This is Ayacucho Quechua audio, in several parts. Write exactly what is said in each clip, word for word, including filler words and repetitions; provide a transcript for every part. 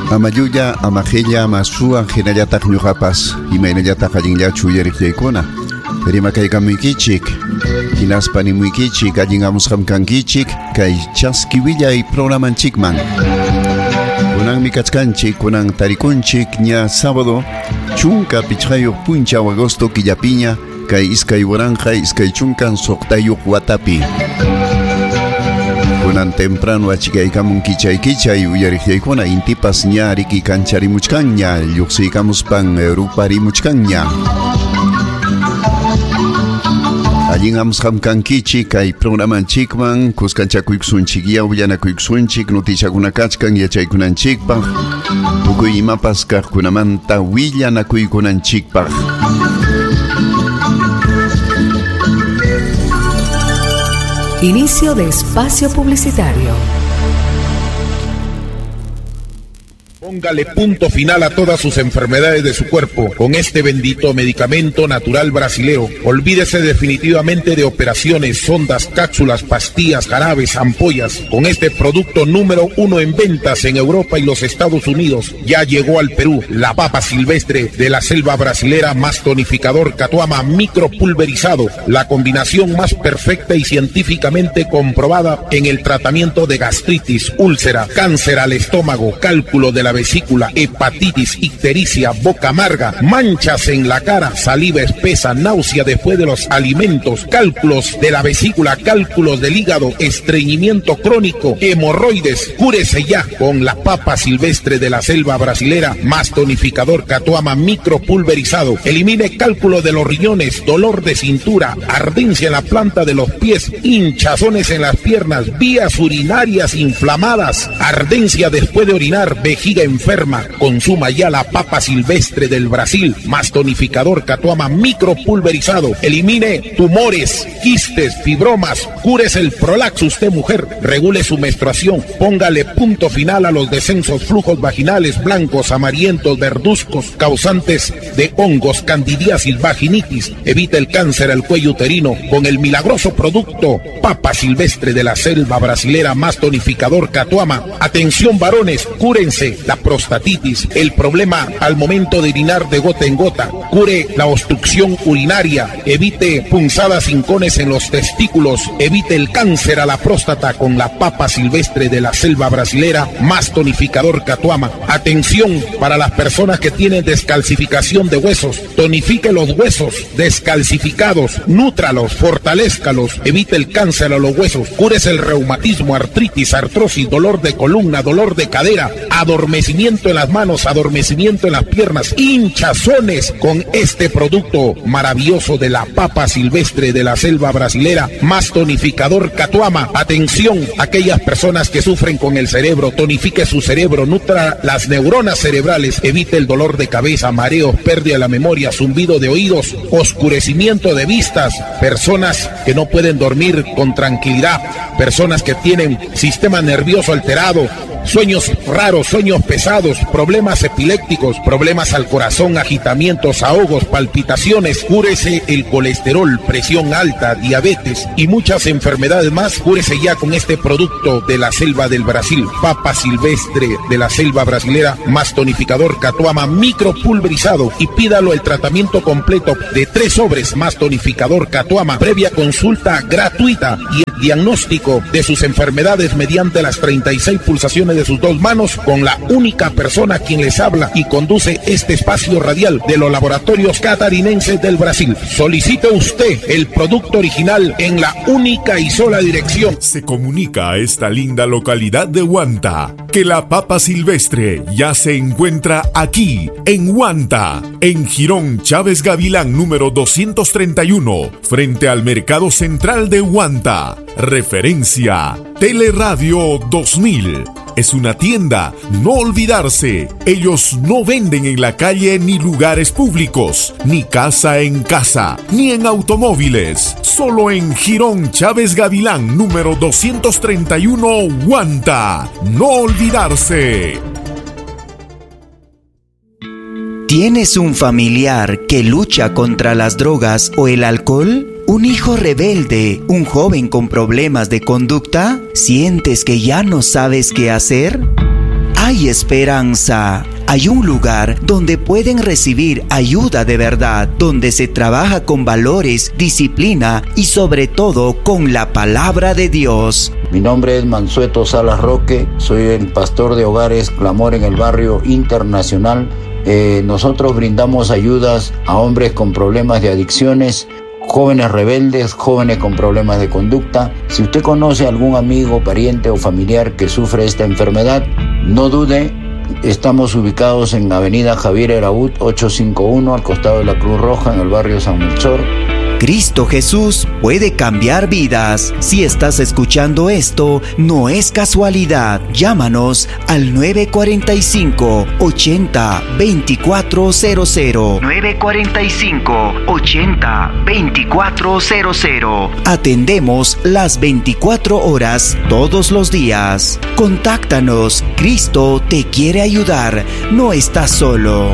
Ama llulla, ama qilla, ama suwa, hinallataq ñuqapas, imaynallataq allinllachu uyariqllaykuna. Rimakaykamuykichik, hinaspa nimuykichik, allin amusqam kankichik, kay chaski willay programanchikman. Kunanmi kachkanchik, kunan tarikunchik, ña sábado, chunka pichqayuq punchaw agosto killapiña, kay iskay waranqa iskay chunkan suqtayuq watapi. Kunan temprano achikaykamun kichay kichay uyariqllaykuna, intipas ña riki kancharimuchkanña, lluqsiykamuspan ruparimuchkanña. Allin amusqam kankichik kay programanchikman, kuskanchakuykusunchik, willanakuykusunchik, noticiakuna kachkan yachaykunanchikpaq, tukuy imapas kaqkunamanta willanakuykunanchikpaq. Inicio de espacio publicitario. Póngale punto final a todas sus enfermedades de su cuerpo con este bendito medicamento natural brasilero. Olvídese definitivamente de operaciones, sondas, cápsulas, pastillas, jarabes, ampollas. Con este producto número uno en ventas en Europa y los Estados Unidos, ya llegó al Perú la papa silvestre de la selva brasilera más tonificador Catuama micropulverizado, la combinación más perfecta y científicamente comprobada en el tratamiento de gastritis, úlcera, cáncer al estómago, cálculo de la vesícula, hepatitis, ictericia, boca amarga, manchas en la cara, saliva espesa, náusea después de los alimentos, cálculos de la vesícula, cálculos del hígado, estreñimiento crónico, hemorroides. Cúrese ya con la papa silvestre de la selva brasilera más tonificador Catuama micropulverizado. Elimine cálculo de los riñones, dolor de cintura, ardencia en la planta de los pies, hinchazones en las piernas, vías urinarias inflamadas, ardencia después de orinar, vejiga enferma. Consuma ya la papa silvestre del Brasil más tonificador Catuama micropulverizado. Elimine tumores, quistes, fibromas, cúrese el prolaxo usted mujer, regule su menstruación, póngale punto final a los descensos, flujos vaginales blancos, amarillentos, verduzcos, causantes de hongos, candidiasis, vaginitis. Evite el cáncer al cuello uterino con el milagroso producto papa silvestre de la selva brasilera más tonificador Catuama. Atención varones, cúrense la prostatitis, el problema al momento de orinar de gota en gota, cure la obstrucción urinaria, evite punzadas hincones en los testículos, evite el cáncer a la próstata con la papa silvestre de la selva brasilera más tonificador Catuama. Atención para las personas que tienen descalcificación de huesos, tonifique los huesos descalcificados, nútralos, fortalézcalos, evite el cáncer a los huesos, cúrese el reumatismo, artritis, artrosis, dolor de columna, dolor de cadera, adormecimiento en las manos, adormecimiento en las piernas, hinchazones con este producto maravilloso de la papa silvestre de la selva brasilera más tonificador Catuama. Atención, aquellas personas que sufren con el cerebro, tonifique su cerebro, nutra las neuronas cerebrales, evite el dolor de cabeza, mareos, pérdida de la memoria, zumbido de oídos, oscurecimiento de vistas, personas que no pueden dormir con tranquilidad, personas que tienen sistema nervioso alterado, sueños raros, sueños pesados, problemas epilépticos, problemas al corazón, agitamientos, ahogos, palpitaciones. Cúrese el colesterol, presión alta, diabetes y muchas enfermedades más. Cúrese ya con este producto de la selva del Brasil, papa silvestre de la selva brasilera más tonificador Catuama micropulverizado, y pídalo el tratamiento completo de tres sobres más tonificador Catuama, previa consulta gratuita y el diagnóstico de sus enfermedades mediante las treinta y seis pulsaciones de sus dos manos, con la única persona quien les habla y conduce este espacio radial de los laboratorios catarinenses del Brasil. Solicite usted el producto original en la única y sola dirección. Se comunica a esta linda localidad de Huanta que la papa silvestre ya se encuentra aquí, en Huanta, en Jirón Chávez Gavilán número doscientos treinta y uno, frente al Mercado Central de Huanta. Referencia Teleradio dos mil. Es una tienda, no olvidarse. Ellos no venden en la calle ni lugares públicos, ni casa en casa, ni en automóviles. Solo en Jirón Chávez Gavilán, número doscientos treinta y uno, Huanta. No olvidarse. ¿Tienes un familiar que lucha contra las drogas o el alcohol? ¿Un hijo rebelde? ¿Un joven con problemas de conducta? ¿Sientes que ya no sabes qué hacer? Hay esperanza. Hay un lugar donde pueden recibir ayuda de verdad, donde se trabaja con valores, disciplina y sobre todo con la palabra de Dios. Mi nombre es Mansueto Salas Roque, soy el pastor de Hogares Clamor en el Barrio Internacional. Eh, nosotros brindamos ayudas a hombres con problemas de adicciones, jóvenes rebeldes, jóvenes con problemas de conducta. Si usted conoce a algún amigo, pariente o familiar que sufre esta enfermedad, no dude. Estamos ubicados en Avenida Javier Eraúd, ocho cinco uno, al costado de la Cruz Roja, en el barrio San Melchor. Cristo Jesús puede cambiar vidas. Si estás escuchando esto, no es casualidad. Llámanos al nueve cuarenta y cinco, ochenta, veinticuatro cero cero. nueve cuarenta y cinco, ochenta, veinticuatro cero cero. Atendemos las veinticuatro horas todos los días. Contáctanos. Cristo te quiere ayudar. No estás solo.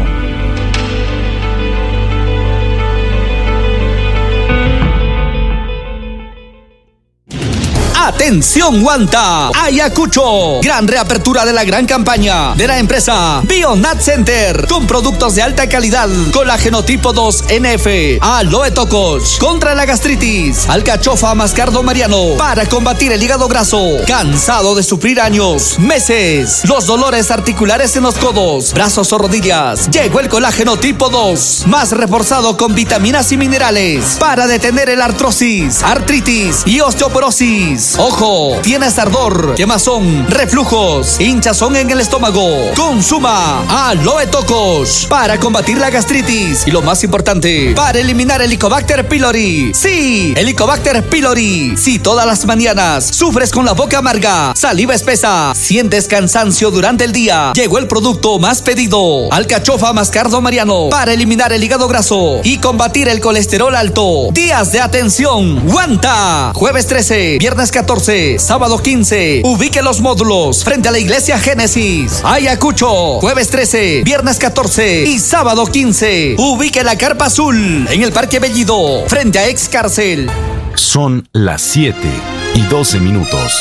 ¡Atención, Huanta! ¡Ayacucho! Gran reapertura de la gran campaña de la empresa Bionat Center, con productos de alta calidad, colágeno tipo dos N F, aloe tocos, contra la gastritis, alcachofa mascardo mariano, para combatir el hígado graso, cansado de sufrir años, meses, los dolores articulares en los codos, brazos o rodillas. Llegó el colágeno tipo dos, más reforzado con vitaminas y minerales, para detener el artrosis, artritis y osteoporosis. Ojo, tienes ardor, quemazón, reflujos, hinchazón en el estómago. Consuma Aloe Tocos para combatir la gastritis y lo más importante, para eliminar el Helicobacter pylori. Sí, Helicobacter pylori. Si todas las mañanas sufres con la boca amarga, saliva espesa, sientes cansancio durante el día, llegó el producto más pedido, alcachofa mascardo mariano, para eliminar el hígado graso y combatir el colesterol alto. Días de atención, Huanta. Jueves trece, viernes catorce, sábado quince. Ubique los módulos frente a la iglesia Génesis. Ayacucho, jueves trece, viernes catorce y sábado quince. Ubique la carpa azul en el Parque Bellido, frente a ex cárcel. Son las siete y doce minutos.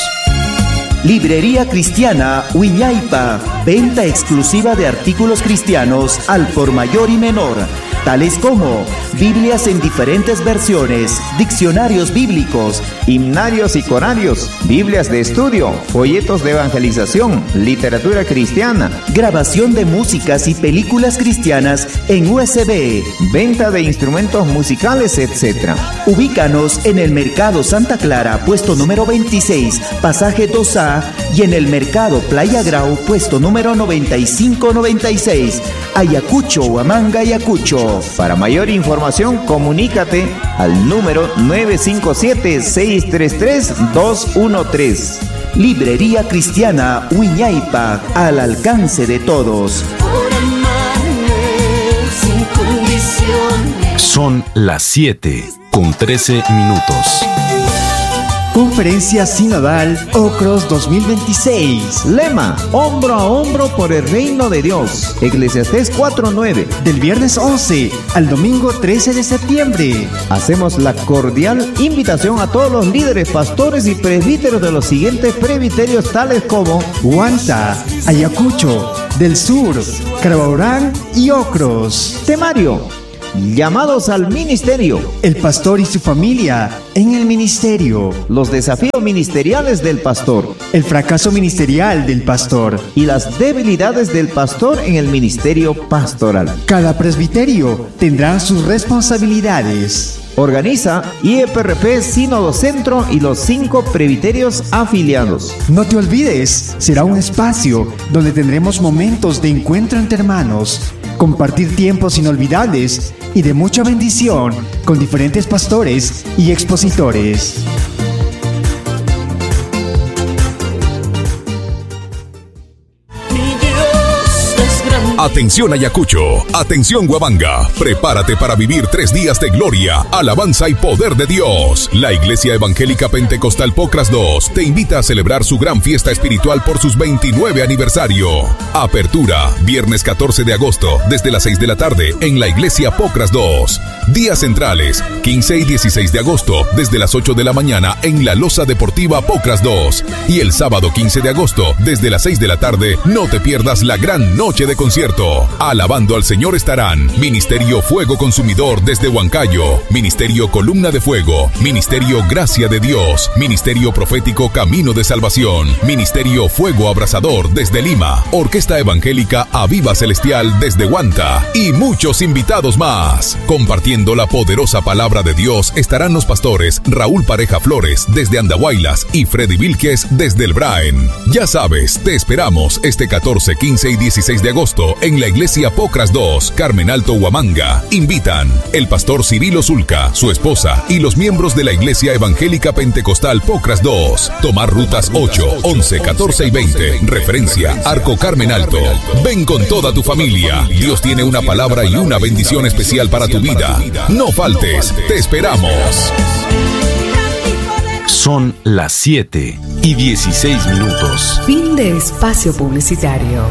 Librería Cristiana Wiñaypa, venta exclusiva de artículos cristianos al por mayor y menor, tales como Biblias en diferentes versiones, diccionarios bíblicos, himnarios y corarios, Biblias de estudio, folletos de evangelización, literatura cristiana, grabación de músicas y películas cristianas en U S B, venta de instrumentos musicales, etcétera. Ubícanos en el Mercado Santa Clara, puesto número veintiséis, pasaje dos A, y en el Mercado Playa Grau, puesto número noventa y cinco noventa y seis, Ayacucho, Huamanga, Ayacucho. Para mayor información, comunícate al número nueve cinco siete, seis tres tres, dos uno tres. Librería Cristiana Wiñaypa, al alcance de todos. Por amarme sin condiciones. Son las siete con trece minutos. Conferencia Sinodal Ocros dos mil veintiséis. Lema: hombro a hombro por el reino de Dios. Eclesiastés cuatro nueve. Del viernes once al domingo trece de septiembre. Hacemos la cordial invitación a todos los líderes, pastores y presbíteros de los siguientes presbiterios, tales como Huanta, Ayacucho, del Sur, Carabaurán y Ocros. Temario: llamados al ministerio. El pastor y su familia en el ministerio. Los desafíos ministeriales del pastor. El fracaso ministerial del pastor. Y las debilidades del pastor en el ministerio pastoral. Cada presbiterio tendrá sus responsabilidades. Organiza I E P R P Sínodo Centro y los cinco presbiterios afiliados. No te olvides, será un espacio donde tendremos momentos de encuentro entre hermanos, compartir tiempos inolvidables y de mucha bendición con diferentes pastores y expositores. Atención Ayacucho, atención Huamanga, prepárate para vivir tres días de gloria, alabanza y poder de Dios. La Iglesia Evangélica Pentecostal Pocras dos te invita a celebrar su gran fiesta espiritual por sus veintinueve aniversario. Apertura, viernes catorce de agosto, desde las seis de la tarde, en la Iglesia Pocras dos. Días centrales, quince y dieciséis de agosto, desde las ocho de la mañana, en la Loza Deportiva Pocras dos. Y el sábado quince de agosto, desde las seis de la tarde, no te pierdas la gran noche de concierto. Alabando al Señor estarán Ministerio Fuego Consumidor desde Huancayo, Ministerio Columna de Fuego, Ministerio Gracia de Dios, Ministerio Profético Camino de Salvación, Ministerio Fuego Abrasador desde Lima, Orquesta Evangélica Aviva Celestial desde Huanta y muchos invitados más. Compartiendo la poderosa palabra de Dios estarán los pastores Raúl Pareja Flores desde Andahuaylas y Freddy Vilques desde el Braen. Ya sabes, te esperamos este catorce, quince y dieciséis de agosto en la Iglesia Pocras dos, Carmen Alto, Huamanga. Invitan el pastor Cirilo Zulca, su esposa y los miembros de la Iglesia Evangélica Pentecostal Pocras dos. Tomar rutas ocho, once, catorce y veinte. Referencia Arco Carmen Alto. Ven con toda tu familia. Dios tiene una palabra y una bendición especial para tu vida. No faltes, te esperamos. Son las siete y dieciséis minutos. Fin de espacio publicitario.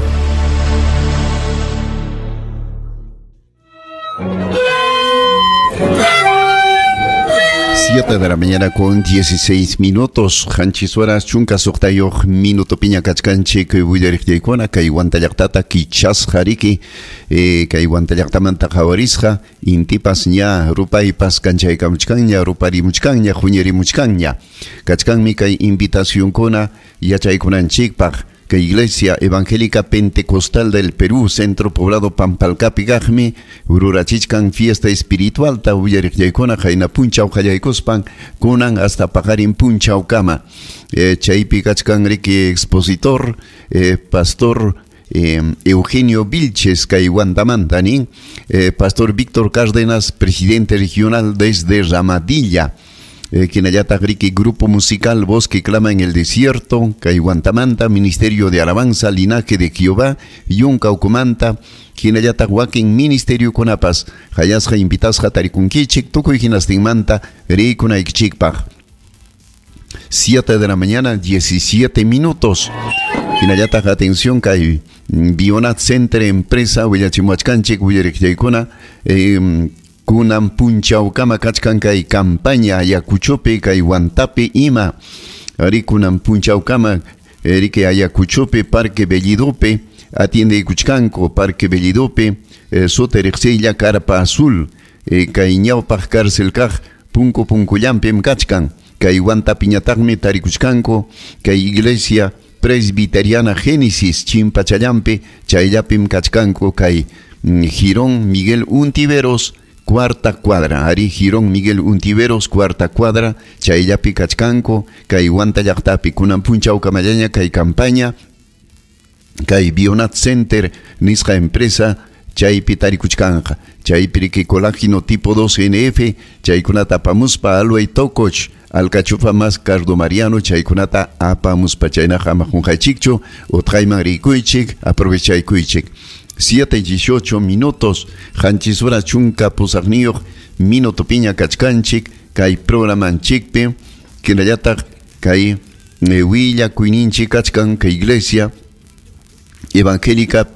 Siete de la mañana con dieciséis minutos. Qanchis horas chunka suqtayuq minuto piña kachkanchik willariqllaykuna kay Huanta llaqtata kichasqa riki eh, kay Huanta llaqtamanta qhawarisqa intipas ña rupaypas kanchaykamuchkanña ruparimuchkanña huñirimuchkanña kachkanmi kay invitacionkuna yachaykunanchikpaq. Que Iglesia Evangélica Pentecostal del Perú, Centro Poblado Pampalcapi kaqmi, rurachichkan fiesta espiritual ta willariqllaykuna qayna punchaw qallaykuspan kunan hasta paqarin punchawkama. Eh, chaypi kachkan riki expositor, eh, pastor eh, Eugenio Vilches kay Huantamanta nin, eh, pastor Víctor Cárdenas, presidente regional desde Ramadilla. Eh, Kinayata Riki, grupo musical Voz que Clama en el Desierto, kay Huantamanta, Ministerio de Alabanza, Linaje de Jehová, Yunka Ucumanta, Kinayata Wakin, Ministerio Kunapas, Hayasja invitasja tarikunkichik, tukuy hinastinmanta, rikunaykichikpaq. Siete de la mañana, diecisiete minutos. Hinayata, atención, kay Bionat Center Empresa, Willachimuachkanchik, Willariqllaykuna, eh, kunan punchawkama kachkan kay campaña Ayacuchopi kay Huantapi ima ari kunan punchawkama riki Ayacuchopi Parque Bellidope atiende ikuchkanku Parque Bellidope eh, suti riqsiylla Carpa Azul eh, kay ñawpaq cárcel kaq punku punkullampim kachkan kay Huantapiñataqmi tarikuchkanku kay Iglesia Presbiteriana Génesis chimpachallampi chayllapim kachkanku kay mm, Girón Miguel Untiveros cuarta cuadra, ari Girón Miguel Untiveros, cuarta cuadra, chayllapi kachkanku, kay Huanta llaqtapi, kunan punchaw kamallaña kay campaña, kay Bionat Center, nisqa empresa, chaypi tarikuchkanqa, chaypi riki colágeno tipo dos N F, chaykunata apamuspa alway tokoch, alcachofa más cardo mariano, chaykunata apamuspa, chaynaqa ama qunqaychikchu, utqayman rikuychik, aprovechaykuychik. Siete y dieciocho minutos, qanchis horas chunka pusaqniyuq minuto piña kachkanchik, kay programanchikpi, kinallataq kay eh, willakuyninchik kachkan kay Iglesia Evangélica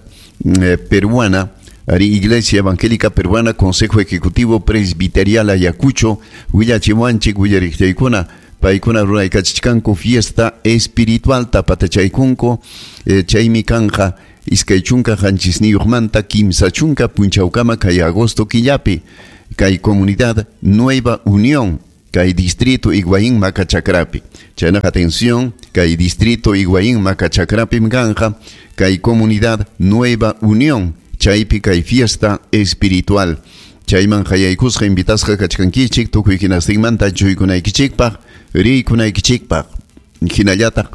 eh, Peruana, ari Iglesia Evangélica Peruana, Consejo Ejecutivo Presbiterial Ayacucho, willachimuanchik willariqllaykuna, paykuna ruraykachichkanku fiesta espiritual tapatachaykunku, eh, chaymi kanja iskay chunka qanchisniyuqmanta kimsa chunka punchawkama kay agosto killapi kay comunidad Nueva Unión kay distrito Higuaín Macachakrapi. Chaynaqa atención, kay distrito Higuaín Macachakrapi mkanja kay comunidad Nueva Unión chaypi kay fiesta espiritual. Chayman hayaykusqa invitasqa kachkankichik tukuy hinastinmanta chuykunaykichikpaq riykunaykichikpaq hinallataq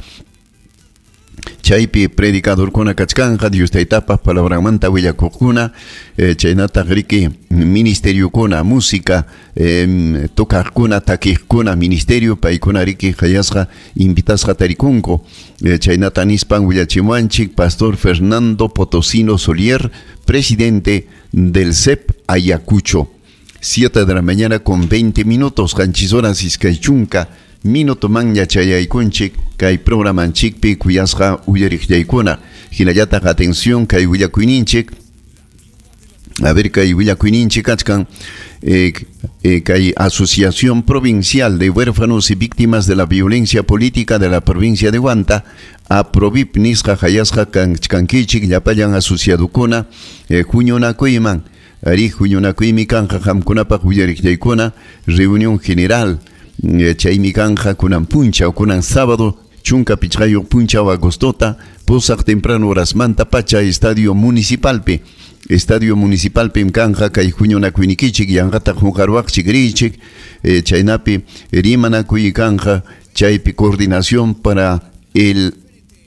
Chaypi predicadorkuna kachkanqa Dios taytapaq palabranmanta willakuqkuna, eh, chaynataq riki ministeriokuna, música, eh, tocaqkuna, takiqkuna, ministerio paykuna riki hayasqa invitasqa tarikunku. Eh, chaynata nispan willachimuanchik Pastor Fernando Potosino Solier, presidente del C E P Ayacucho. Siete de la mañana con veinte minutos, qanchis horas iskay chunka minuto man yachayaykunchik kay programanchikpi kuyasqa uyariqllaykuna. Hinallataq atención kay willakuyninchik. A ver, kay willakuyninchik kachkan eh, eh, kay Asociación Provincial de Huérfanos y Víctimas de la Violencia Política de la Provincia de Huanta, APROVIP nisqa hayasqa kanchkankichik llapallan asociadukuna, eh, huñunakuyman. Ari huñunakuymi kanqa qamkunapaq uyariqllaykuna, reunión general. Chaymi kanja kunan punchaw, kunan sábado, chunka pichqayuq punchaw agostota, pusaq temprano horasmanta pacha Estadio Municipalpi. Estadio Municipalpim kanja kay huñunakuynikichik yanqataq huqarwaqchik riichik, eh, chaynapi rimanakuy kanja chaypi coordinación para el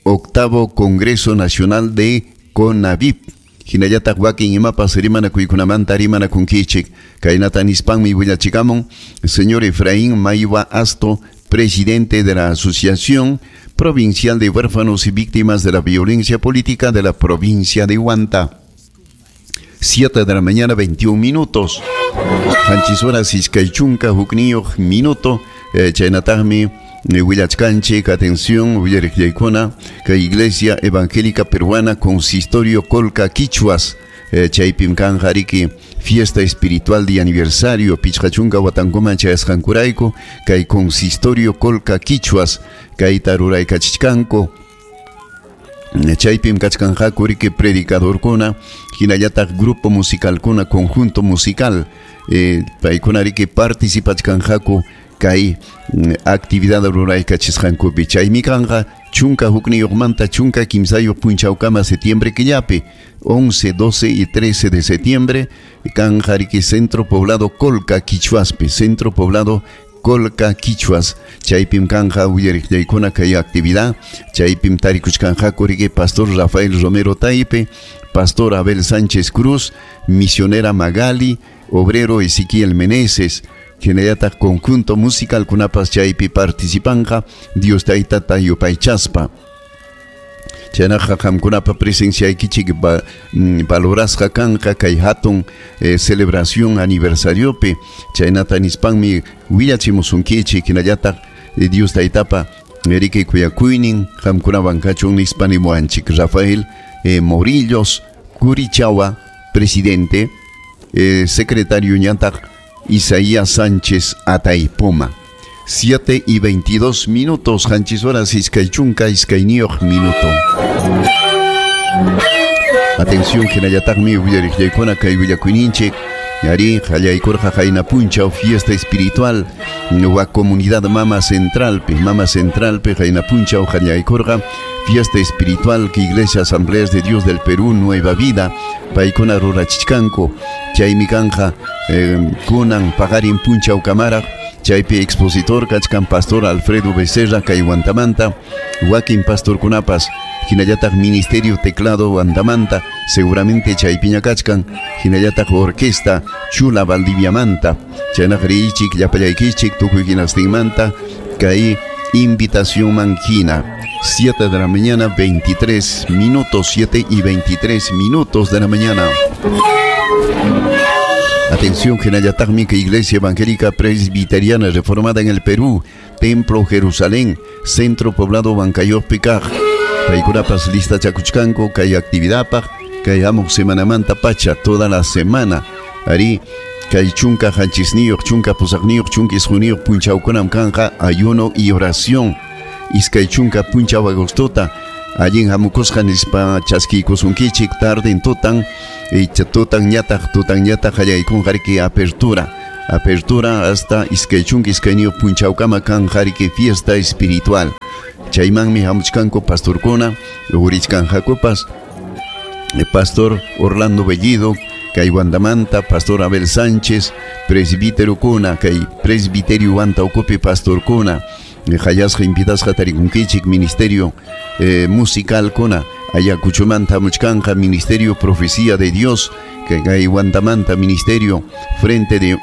octavo Congreso Nacional de CONAVIP. Hinallataq wakin imapas rimanakuykunamanta rimanakunkichik. Kaynata nispanmi willachikamun señor Efraín Maiwa Asto, presidente de la Asociación Provincial de Huérfanos y Víctimas de la Violencia Política de la provincia de Huanta. Siete de la mañana, veintiún minutos. Qanchis horas iskay chunka hukniyuq minuto. Eh, chaynataqmi willachkanchik, atención, willariqllaykuna, kay Iglesia Evangélica Peruana, Consistorio Colca Quichuas, eh, chaypim kanja riki fiesta espiritual de aniversario, pichqa chunka watankuman chayasqankurayku, kay Consistorio Colca Quichuas, kayta ruraykachichkanku. Chaypim kachkanqaku riki predicadorkuna, hinallataq grupo musicalkuna, conjunto musical, eh, paykuna riki participachkanqaku kay actividad ruraykachisqankupi. Chaymi kanqa chunka hukniyuqmanta chunka kimsayuq punchawkama septiembre killapi, once, doce y trece de septiembre, kanja riki Centro Poblado Colca Quichuaspi, Centro Poblado Colca Quichuas. Chaypim kanja uyariqllaykuna kay actividad. Chaypim tarikuchkanqaku riki Pastor Rafael Romero Taipe, Pastor Abel Sánchez Cruz, Misionera Magali, Obrero Ezequiel Meneses, hinallataq conjunto musical kunapas chaypi participanja Dios taytata yupaychaspa. Chaynaqa qamkunapa presenciaykichik valorasqa kanqa kay hatun eh, celebración aniversariopi. Chaynata nispanmi willachimusunkichik hinallataq eh, Dios taytapa riki kuyakuynin qamkunawan kachun nispa nimuanchik. Rafael eh, Morillos Curichawa, presidente, eh, secretario ñataq Isaías Sánchez Ataipoma. Siete y veintidós minutos, qanchis horas iskay chunka iskayniyuq minuto. Atención, hinallataqmi willariqllaykuna kay willakuyninchik. Ari qallaykurqa qayna punchaw fiesta espiritual wa comunidad Mama Centralpi, Mama Centralpi qayna punchaw qallaykurqa fiesta espiritual que Iglesia Asambleas de Dios del Perú Nueva Vida paykuna rurachichkanku. Chaymi kanja eh, kunan paqarin punchaw kamaraq. Chaypi expositor kachkan Pastor Alfredo Becerra kay Huantamanta, wakin pastorkunapas, hinallataq Ministerio Teclado Huantamanta, seguramente chaypiña kachkan, hinallataq Orquesta Chula Valdiviamanta, chaynaq riichik llapallaykichik tukuy hinastinmanta kay invitación manquina. Siete de la mañana, veintitrés minutos, siete y veintitrés minutos de la mañana. Atención, hinallataqmi que Iglesia Evangélica Presbiteriana Reformada en el Perú, Templo Jerusalén, Centro Poblado Huancayopi kaq. Paykunapas lista chakuchkanku kay actividadpaq, kay hamuq semanamanta pacha, toda la semana. Ari kay chunka qanchisniyuq, chunka pusaqniyuq, chunka isquniyuq punchawkunam kanqa ayuno y oración. Iskay chunka punchaw agostota, allin hamukusqa nispa chaskiykusunkichik tarden tutan, tutan ñataq, tutan ñataq qallaykunqa riki apertura. Apertura hasta iskay chunka iskayniyuq punchawkama kanja riki fiesta espiritual. Chaymanmi hamuchkanku pastorkuna, urichkanqakupas, Pastor Orlando Bellido, kay Huantamanta, Pastor Abel Sánchez, presbítero kuna, kay presbiterio Huanta ukupi pastorkuna, Hayasqa invitasqa tarikunkichik ministerio eh, musical kuna Ayacuchomanta muchkanqa Ministerio Profecía de Dios kay Huantamanta Ministerio Frente de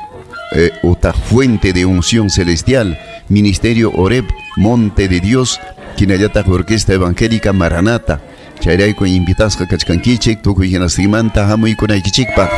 eh, Ota Fuente de Unción Celestial, Ministerio Oreb Monte de Dios, hinallataq Orquesta Evangélica Maranata. Chayrayku invitasqa kachkankichik tukuy hinastimanta hamuykunaykichikpaq.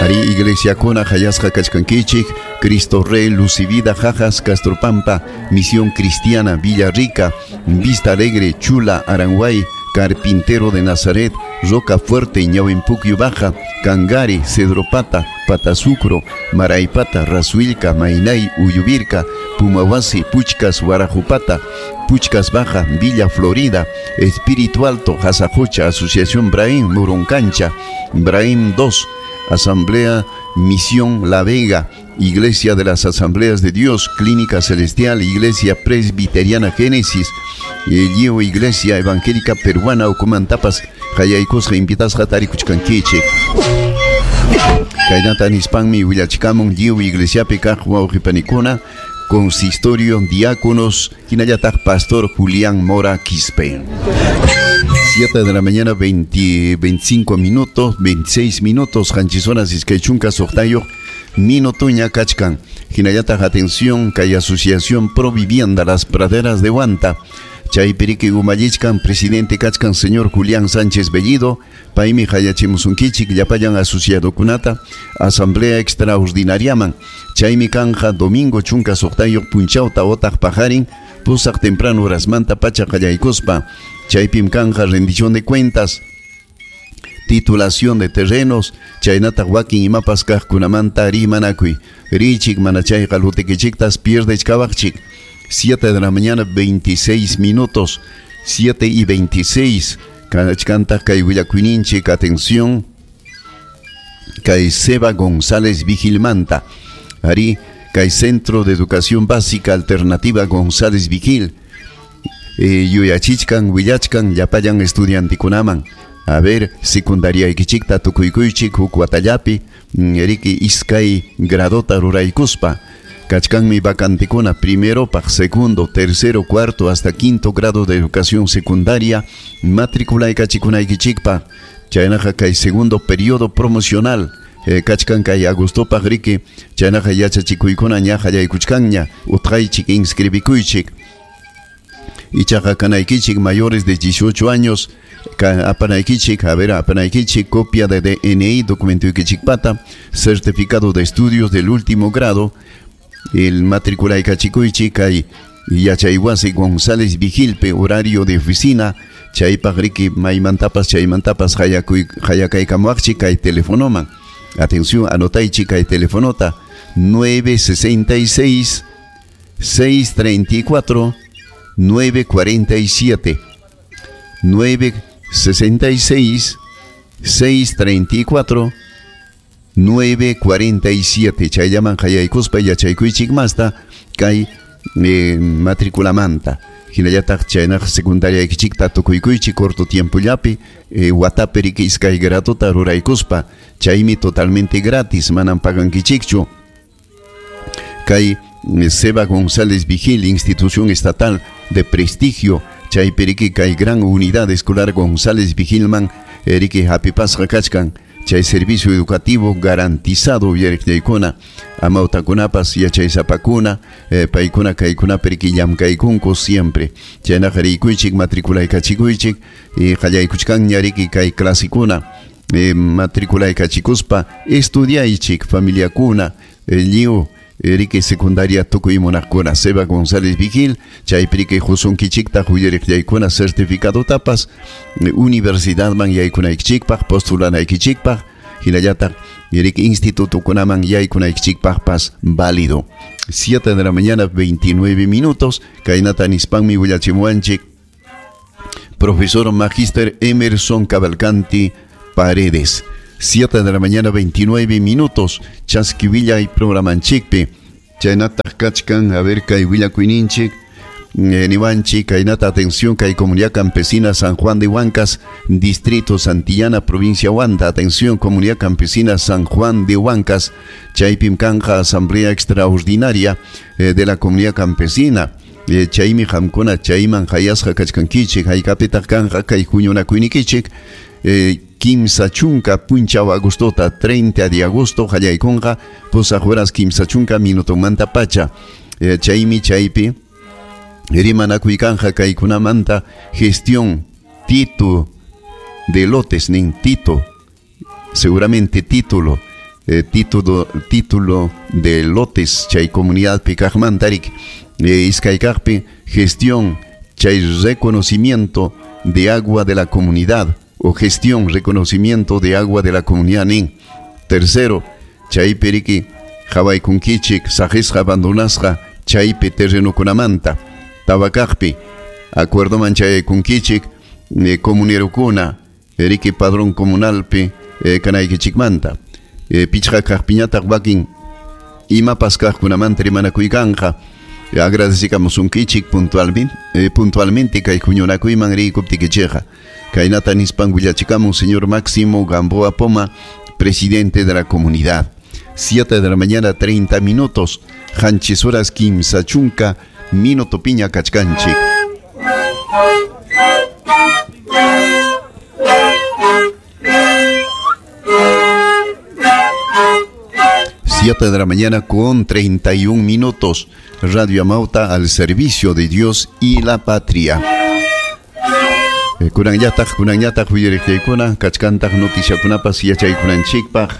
Ari iglesiakuna hayasqa kachkankichik Cristo Rey, Luz y Vida, Jajas, Castropampa, Misión Cristiana, Villa Rica, Vista Alegre, Chula, Aranguay, Carpintero de Nazaret, Roca Fuerte, Ñahuimpuquio Baja, Cangari, Cedropata, Patasucro, Maraipata, Rasuilca, Mainay, Uyuvirca, Pumahuasi, Puchcas, Guarajupata, Puchcas Baja, Villa Florida, Espíritu Alto, Jazajocha, Asociación Brahim, Muruncancha, Brahim dos, Asamblea Misión La Vega, Iglesia de las Asambleas de Dios, Clínica Celestial, Iglesia Presbiteriana Génesis, Lliw Iglesia Evangélica Peruana, Ucumantapas, Hayaykusqa invitasqa tarikuchkankichik. Kaynata nispanmi willachikamun lliw iglesiapi kaq wawqipanikuna, consistorio, diáconos, hinallataq Pastor Julián Mora Quispe. siete de la mañana, veinte, veinticinco minutos, veintiséis minutos, hanchizonas iskaychunka suqtayuq minutuña kachkan. Hinallataq atención, kay Asociación Pro Vivienda Las Praderas de Huanta. Chaypiriki umallichkan presidente kachkan señor Julián Sánchez Bellido, paymi hayachimusunkichik llapallan asociadokunata asamblea extraordinariaman. Chaymi kanja domingo chunka suqtayuq punchawta otaq pajarin pusaq temprano horasmanta pacha qallaykuspa. Chaypim kanja rendición de cuentas, titulación de terrenos, chaynataq wakin imapas kaqkunamanta rimanakuy. Richik manachayqa lutikichiktas pierdechkawaqchik. siete de la mañana, veintiséis minutos, siete y veintiséis. Kachkantaq kay willakuyninchik, atención, kay Seba González Vigilmanta. Ari, kay Centro de Educación Básica Alternativa González Vigil. Eh, yuyachichkan, willachkan, llapallan estudiantikunaman. A ver, secundaria ikichikta tukuykuychik huk watallapi, eriki iskay gradota ruraykuspa. Kachkanmi vacantekuna primero, paq segundo, tercero, cuarto hasta quinto grado de educación secundaria, matriculaykachikunaykichikpa. Chaynaqa kay segundo periodo promocional. Eh, kachkan kay agostopaq riki, chaynaqa yachachikuykuna ña qallaykuchkanña, utqaychik inscribikuychik. Ichaqa kanaykichik mayores de dieciocho años, apanaykichik, a ver, apanaykichik, copia de D N I, documento ikichikpata, certificado de estudios del último grado, el matriculaykachikuychik kay yachaywasi González Vigilpe, horario de oficina, chaypaq riki maymantapas chaymantapas hayakaykamuaqchik kay telefonoman. Atención, anotaychik kay telefonota nueve sesenta y seis, seis treinta y cuatro, nueve cuarenta y siete, nueve sesenta y seis, seis treinta y cuatro, nueve cuarenta y siete. Chayllaman hayaykuspa yachaykuychik masta kay eh, matriculamanta. Hinallataq chaynaq secundaria ikichikta tukuykuychik corto tiempollapi eh, watapi riki iskay gradota ruraykuspa, chaymi totalmente gratis, manan pagankichikchu. Kay Seba González Vigil, institución estatal de prestigio, chaypi riki kay gran unidad escolar González Vigilman riki hapipasqa kachkan, chay servicio educativo garantizado uyariqllaykuna, amawtakunapas yachaysapakuna, eh, paykuna kaykunapi riki llamkaykunku siempre. Chaynaqa riykuychik matriculaykachikuychik, eh, qallaykuchkanña riki kay clasikuna, eh, matriculaykachicuspa estudiaychik familiakuna, eh, lliw riki secundaria tukuy munaqkuna. Seba González Vigil, chaypi riki husunkichiktaq uyariqllaykuna certificado tapas universidadman yaykunaykichikpaq, postulanaykichikpaq, hinallataq riki institutokunaman yaykunaykichikpaqpas válido. siete de la mañana, veintinueve minutos, kaynata nispanmi willachimuwanchik profesor magíster Emerson Cavalcanti Paredes. siete de la mañana, veintinueve minutos, Chasquivilla y programanchikpi. Chaynataq kachkan, a ver, kay willakuyninchik. eh, niwanchik kaynata atención kay comunidad campesina San Juan de Huancas, distrito Santillana, provincia Huanta. Atención, comunidad campesina San Juan de Huancas, chaypim kanja asamblea extraordinaria eh, de la comunidad campesina. Eh, chaymi qamkuna chayman hayasqa kachkankichik haykapitaq kanja kay huñunakuynikichik eh, kimsa chunka punchaw agostota treinta de agosto qallaykunqa pusaq horas kimsa chunka minutomanta pacha. Eh, chaymi chaypi rimanakuy kanja kaykunamanta gestión título de lotes nin tito seguramente título eh, título título de lotes chay comunidad pikaqmantarik eh, iskaykaqpi gestión chay reconocimiento de agua de la comunidad o gestión reconocimiento de agua de la comunidad nin. Tercero, chaypi riki hawaykunkichik saqisqa abandonasqa chaypi terrenokunamanta tabakaqpi acuerdoman chayaykunkichik eh, comunerukuna riki padrón comunalpi eh, kanaykichikmanta. Eh, pichqa kaqpiñataq wakin imapas kaqkunamanta rimanakuykanqa. Eh, agradecikamusunkichik puntualmente, eh, puntualmente kay huñunakuyman riykuptikichikqa. Kaynata nispan willachikamun señor Máximo Gamboa Poma, presidente de la comunidad. Siete de la mañana, treinta minutos. Hanchis horas kimsa chunka, minuto piña kachkanchik. Siete de la mañana con treinta y un minutos. Radio Amauta al servicio de Dios y la patria. Kunanñataq, kunanñataq uyariqllaykuna, kachkantaq noticiakunapas yachaykunanchikpaq.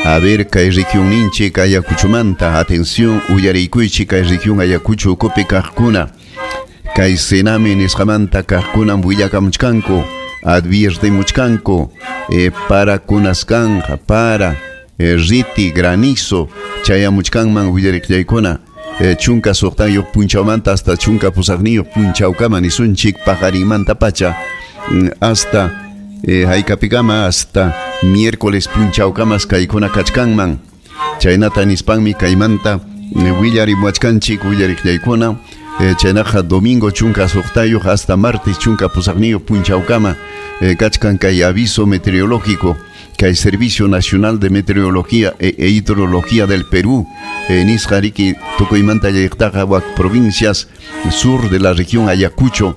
A ver, kay región ninchik Ayacuchumanta, atención, uyariykuychik kay región Ayacucho ukupi kaqkuna. Kay Sename nisqamanta kaqkunam willakamuchkanku, adviertemuchkanku, eh, para kunasqanja, para eh, riti, granizo, chayamuchkanman uyariqllaykuna. Eh, chunka suqtayuq punchawmanta hasta chunka pusaqniyuq punchawkama nisunchik paqarinmanta pacha hasta eh, haykapikama hasta miércoles punchawkamas kaykuna kachkanman. Chaynata nispanmi kaymanta willarimuachkanchik willariqllaykuna. Eh, chaynaqa domingo chunka suqtayuq hasta martes chunka pusaqniyuq punchawkama eh, kachkan kay aviso meteorológico kay Servicio Nacional de Meteorología e, e Hidrología del Perú, eh, nisqa riki tukuymanta llaqtaqa wak provincias sur de la región Ayacucho.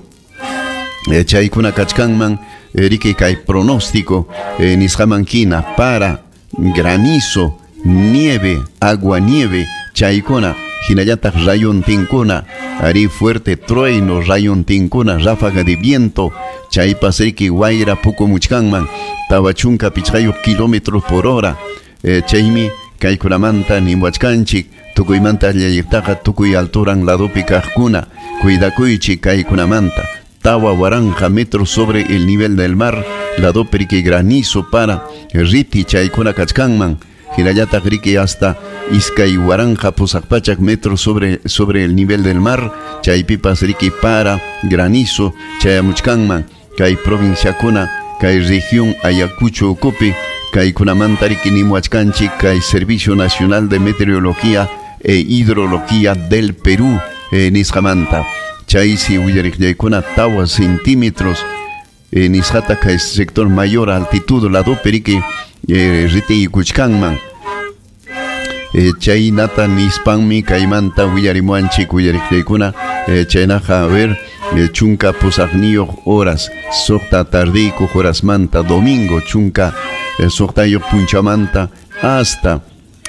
Eh, chaykuna kachkanman eh, riki kay pronóstico eh, nisqaman hina para granizo, nieve, agua nieve, chaykuna hinallataq rayuntinkuna, ari fuerte trueno, rayuntinkuna, ráfaga de viento, chaypas riki wayra pukumuchkanman tawa chunka pichqayuq kilómetros por hora. Eh, chaymi kaykunamanta nimuachkanchik tukuymanta llalliqtaqa tukuy alturan ladopi kaqkuna cuidakuychik kaykunamanta tawa waranja metros sobre el nivel del mar ladopi riki granizo para riti chaykuna kachkanman hinallataq riki hasta iskay waranja pusaq pachak metros sobre, sobre el nivel del mar chaypipas riki para granizo chayamuchkanman kay provinciakuna kay región Ayacucho ukupi kaykunamanta riki nimuachkanchik kay Servicio Nacional de Meteorología e Hidrología del Perú eh, nisqamanta chaysi willariqllaykuna tawa centímetros eh, nisqata kay sector mayor altitud ladopi riki eh, ritiykuchkanman. Eh, chaynata nispanmi kaymanta willarimuanchik willariqllaykuna. Eh, chaynaqa a ver eh, chunka pusaqniyuq horas suqta tardiykuq horasmanta domingo chunka eh, suqtayuq punchamanta hasta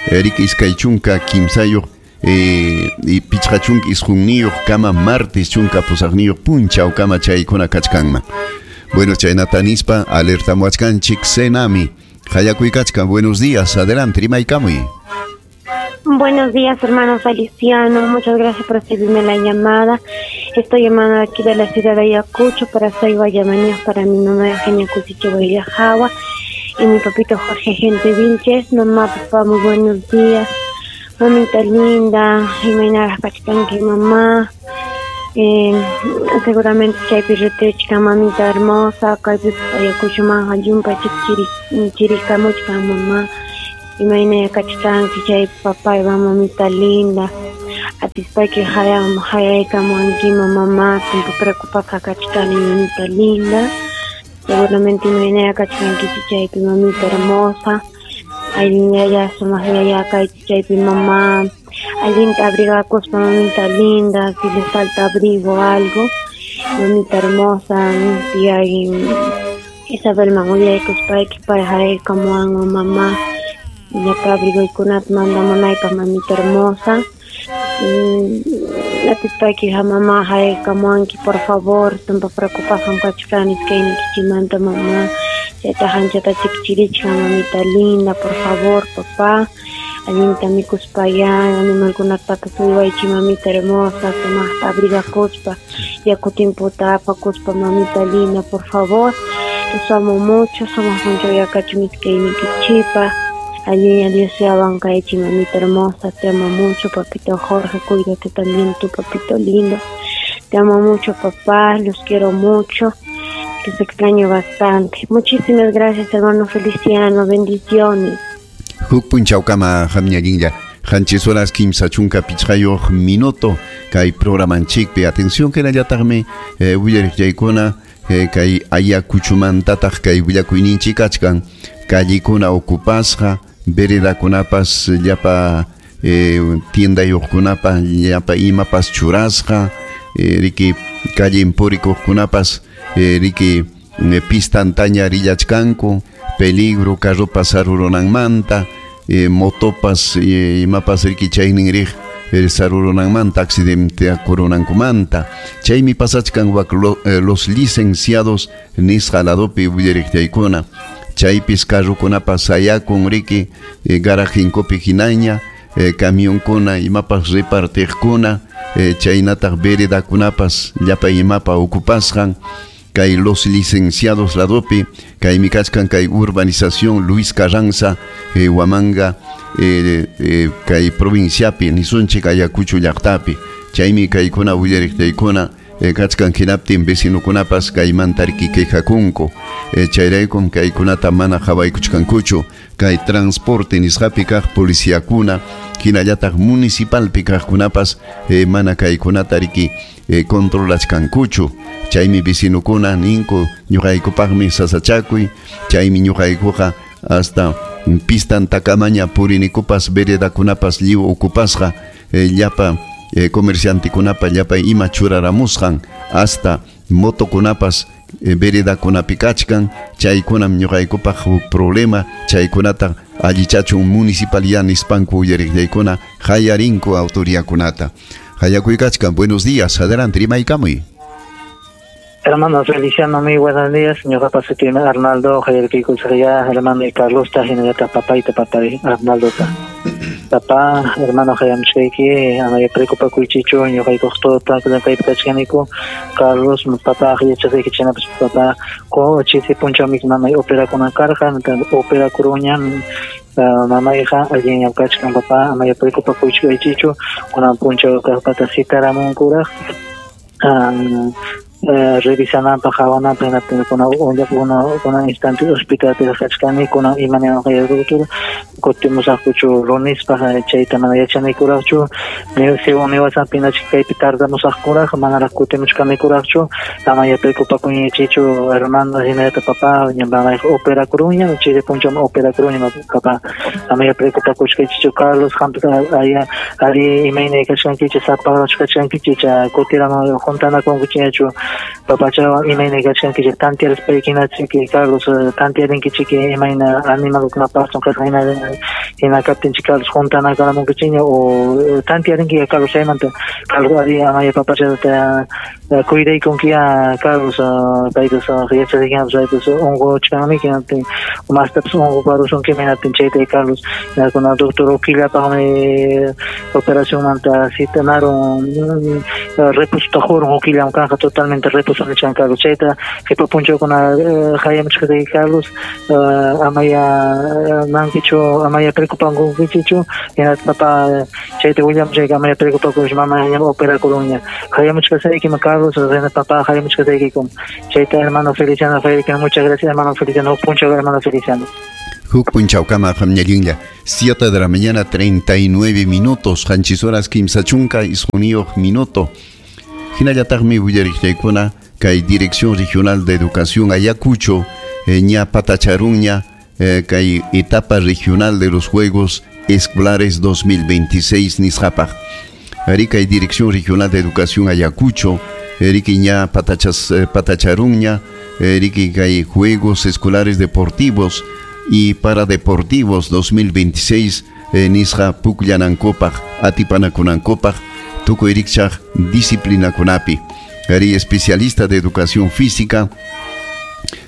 riki iskay chunka kimsayuq eh, y pichqa chunka isqunniyuq kama martes chunka pusaqniyuq punchawkama chaykuna kachkanman. Bueno, chaynata nispa alertamuachkanchik Senami. Hayakuykachkan, buenos días, adelante, rimaykamuy. Buenos días, hermano Feliciano. Muchas gracias por recibirme la llamada. Estoy llamando aquí de la ciudad de Ayacucho para soy Guayamanías, para mi mamá Eugenia Cusiche Guayajagua y mi papito Jorge Gente Vilches. Mamá, papá, muy buenos días. Mamita linda, Jimena Kachkanki, mamá. Eh, seguramente chaypi ritichka mamita hermosa, kaypi Ayacucho manja yumpa chiri chirikamuchka mamá. Imayna kachkanki chay papá y mamita linda. Atispayki hayaykamuankima mamá, tumpa preocupasqa kachkani mamita linda. Seguramente imaynaya kachkankichik chaypi mamita hermosa. Allinyaya sumaq yaya kaychik chaypi mamá. Allinta abrigakuspa mamita linda, si les falta abrigo o algo. Mamita hermosa, tía Isabel mangulaykuspayki pay hayaykamuanman mamá. Llapa abrigoykunata mandamunaypaq mamita hermosa. Atispayki mamá hayaykamuanki por favor, tumpa preocupasqam kachkani iskaynikichikmanta mamá. Chayta anchata chikchirichkan mamita linda, por favor papá. Allinta mikuspayá animalkunatapas uywaychik mamita hermosa, sumaqta abrigakuspa, yaku timputa apakuspa mamita linda, por favor. Los amo mucho, sumaq punchawya kachun iskaynikichikpaq. Allí Dios sea bancaichi, mamita hermosa, te amo mucho, papito Jorge, cuídate también tú, papito lindo. Te amo mucho, papá, los quiero mucho, los extraño bastante. Muchísimas gracias, hermano Feliciano, bendiciones. Huk punchawkama hamñallinlla, qanchis horas kimsa chunka pichqayuq minuto, kay programanchikpi, atención hinallataqmi eh, willariqllaykuna, eh, kay Ayacuchumantataq kay willakuyninchik kachkan, callikuna ocupasqa, veredakunapas llapa eh, tiendayuqkunapa llapa imapas churasqa, eh, riki callen purikuqkunapas eh, riki eh, pistantaña rillachkanku, peligro carropas sarurunanmanta, eh, motopas eh, imapas riki chaynin riq eh, sarurunanmanta accidente akurunankumanta. Chaymi pasachkan wak lo, eh, los licenciados nisqa ladopi willariqllaykuna. Chaypis carrokunapas sayakun riki eh, garajinkupi hinaña, eh, camionkuna imapas repartiqkuna, eh, chaynataq veredakunapas llapa imapa ocupasqan, kay los licenciados ladopi, kaymi kachkan kay urbanización Luis Carranza, eh, Huamanga, eh, eh, kay provinciapi nisunchik Ayacucho llaqtapi. Chaymi kaykuna willariqtaykuna eh, kachkan hinaptin vecinokunapas kaymanta riki quejakunku. Eh, chayraykum kaykunata mana qhawaykuchkankuchu, kay transporte nisqapi kaq policiakuna hinallataq municipalpi kaqkunapas eh, mana kaykunata riki eh, controlachkankuchu. Chaymi vecinokuna ninku ñuqaykupaqmi sasachakuy, chaymi ñuqaykuqa hasta pistantakamaña purinikupas veredakunapas lliw ocupasqa, eh, llapa eh, comerciantekunapa llapa ima churaramusqan, hasta motokunapas eh, veredakunapi kachkan, chaykunam ñuqaykupaq huk problema, chaykunata allichachun municipalidad nispanku uyariqllaykuna hayarinku autoridadkunata. Hayakuykachkan, buenos días, adelante, rimaykamuy. Hermano Feliciano, muy buenos días. Ñuqapa sutiymi Arnaldo, hayarkiykusqaya, hermano y Carlos ta, hinallataq papayta, papay Arnaldo ta. Papá, hermano hayamuchkayki, amaya preocupakuychichu, ñuqaykuq todo kaypi kachkaniku. Carlos, papá, yachasayki chaynapas papá, chisi punchawmi mamay operakunan karqa, operakuruñam. Uh, mamayqa allinñam kachkan papá, amaya preocupakuychikaychichu, kunan punchaw kaqpata citaramunkuraq. Um, Uh, revisananpaq qhawananpaq hinaptin kuna kuna kuna instante hospitalpi kachkani kunan imaniwanqa doctor kutimusaqkuchu lunispaq chayta mana yachanikuraqchu según niwasanpi hinachik kaypi tardamusaqkuraq manaraq kutimuchkanikuraqchu amaya preocupakuñichichu hermano hinallataq papá mamayqa operakuruña chay punchawmi operakuruña papá amaya preocupakuchkaychichu Carlos qampas aya ari imayna kachkankichik sapaqchu kachkankichik kutiramu juntanakunkichikñachu papachawan imayna kachkankichik tantiarispaykinachik Carlos tantiarinkichik imayna animalkunapaqchu kasqa hina hina kaptinchik Carlos juntanakaramunkichikña o tantiarinki Carlos chaymanta Carlos ari amaya papachata cuidaykunkiya Carlos paytas yachasaykiñapas paytas unquchkanmi hinaptin mastapas unquparusunki hinaptin chayta Carlos hinakuna doctor Uquillapaqmi operacionmanta citanarun reposo qurun Uquillam kanqa totalmente reposo nichan Carlos chayta qipa punchawkuna hayamuchkatayki Carlos amaya mankichu amaya preocupankunkichichu hinaspa papá chayta willamuchayki amaya preocupakush mama ñam operakurunña hayamuchkasaykim Carlos papá hayamuchkasaykikum chayta hermano Feliciano Federico, muchas gracias hermano Feliciano, punchaw hermano Feliciano. Huk punchawkama qamñallinlla. siete de la mañana treinta y nueve minutos, qanchis horas kimsa chunka isquniyuq minuto. Hinallataqmi willariqllaykuna kay Dirección Regional de Educación Ayacucho, eh, ña patacharunña, eh, kay etapa regional de los Juegos Escolares dos mil veintiséis nisqapaq. Ari kay Dirección Regional de Educación Ayacucho, riki ña patachas, eh, patacharunña, riki kay Juegos Escolares Deportivos y Paradeportivos dos mil veintiséis, eh, nisqa pukllanankupaq, atipanakunankupaq, tukuy rikchaq disciplinakunapi. Ari especialista de Educación Física,